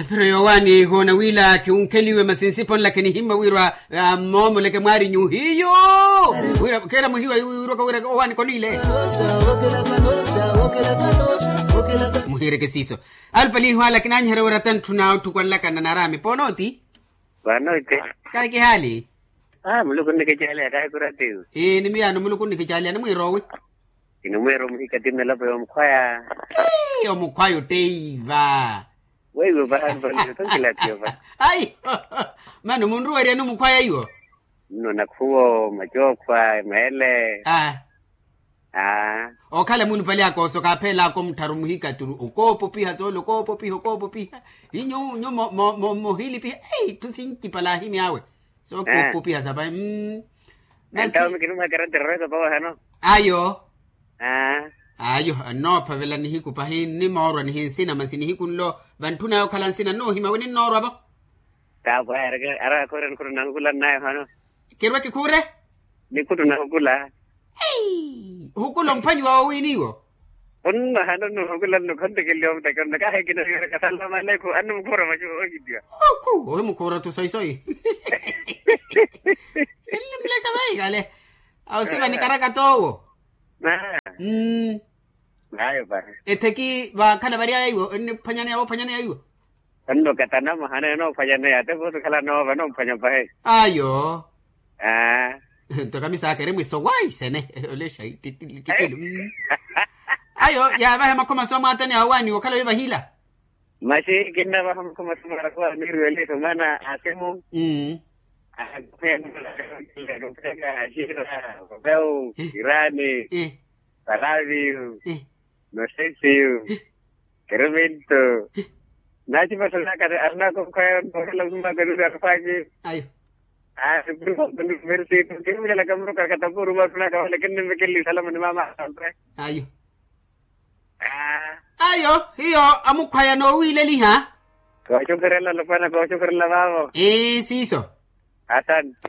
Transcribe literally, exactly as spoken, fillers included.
Pero yowaani hoona wila khiwunkheliwe masi nsipo nlakhe nihimma wirwa. Moomoleke mwaari nyuhiyo. Wira keera muhiwa wirwaka wira owaani koniile. Muhiireke siiso. Alupalihi wala kinaanyiherya wira tantthuna otthukwanlakana naraami poonooti. Panooti. Kahi kihaali. Muluku nnikicaaliya kahi kuratiwi. Ii ni miyaano muluku nnikicaaliya nimwiiroowi. Kinimwiira omuhika ti mmelapo yoomukhwaya. Omukhwaya otteiva. Weiwo paha nipalile tonkilapiyo paha. Ayi. Mano munruwerya ni omukhwaya iwo. Nno nakhuwo macookhwa meele. Okhala mulupale akooso kaapheelaka omuttharu muhikaturu okoopopiha soole okoopopiha okoopopiha. Inyu nyu mohilipiha. Etthu sincipala ahimy'awe. Sookopopiha sapahi. Mmm. Entawo mikinumwekera ntireresa pawe hano. Ayo. Ayo. Annoophavela nihiku pahi nnimoorwa nihinsina masi nihiku nlo. Vantthuna yokhala nsina nnoohima wininnoorwa-vo. Taapwaya. Ara akhuure nikhuttuna hukula nnayo hano. Kirwe kikhuure. Nikhuttuna hukula. Hukula omphwanyiwa wowiiniwo. Onno hano nnuhukula nnukhontekeliwa omuteke onno kahi kinahiyereka salama lekhu annu mukhuura macu ohitiwa. Oku ohimukhuura-tho soyi soyi. Nlimulexa veihale. Awo siva nikaraka toowo. Mmm. Ayo pahi. Etheki vakhala varyaya iwo enniphwanyaneya voophwanyaneya iwo. Onno katanamo hano enoophwanyaneya ate vosi khala noova noomphwanya pahi. Ayo. Nto kamisaaka eri mwiso waisene. Olexa ititili ititili. Ayo yaavahe makhoma so amwaatani awaani okhala wivahila. Maxi kinnavaha makhoma so marakuwa amiiriwa eliso maana asimu. Axira, papeu, irani, palaviyu, nosesiyu, keremento. Naacipaxanaka arinaka okhwaya noohela osumaaka nuri arufaki. Ayo. Aasi purifo nuri merisitu kirumilalaka muruka katapuru masunaka wale kinnimekeleli salama ni mama. Ayo. Ayo hiyo amukhwaya noowiileliha. Kooxukhurela alopwana kooxukhurela vaavo. Ii siiso. Asante.